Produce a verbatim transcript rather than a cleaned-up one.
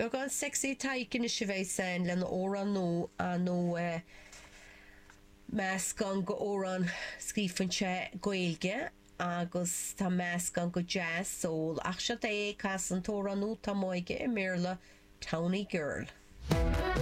Beagán sexy Tadhg anois a bheas ann lena amhrán nua nó meascán d'amhrán scríofa sé Gaeilge agus tá meascán de jazz soul ach seo é ag casadh an t-amhrán nua atá aige i mBéarla Townie Girl.